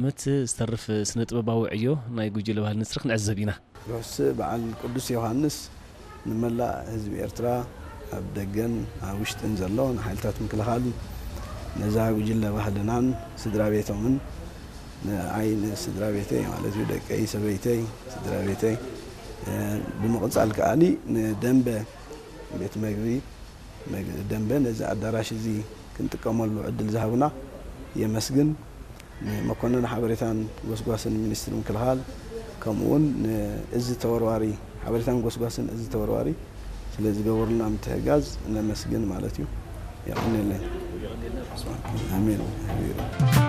ዓመት ዝተርፍ ስነ ጥበባዊ ዕዮ ናይ ጉጅለ ባህሊ ንስሪ ክንዕዘብ ኢና። ርሑስ በዓል ቅዱስ ዮሃንስ ንመላእ ህዝቢ ኤርትራ፣ ኣብ ደገን ኣብ ውሽጥን ዘሎ ንሓይልታት ምክልኻል፣ ነዛ ጉጅለ ባህልናን ስድራ ቤቶምን፣ ንኣይ ንስድራ ቤተይ ማለት እዩ፣ ደቀይ፣ ሰበይተይ፣ ስድራ ቤተይ፣ ብምቕጻል ከኣሊ ንደንበ ቤት መግቢ መግ- ደንበ ነዚ ኣዳራሽ እዚ ክንጥቀመሉ ዕድል ዝሃቡና የመስግን። ንመኮንን ሓበሬታን ጎስጓስን ሚኒስትሪ ምክልኻል፣ ከምኡ እውን ንእዝ ተወርዋሪ ሓበሬታን ጎስጓስን እዝ ተወርዋሪ ስለ ዝገበሩልና ምትሕጋዝ ነመስግን ማለት እዩ። የቐንየለይ። ኣሜን።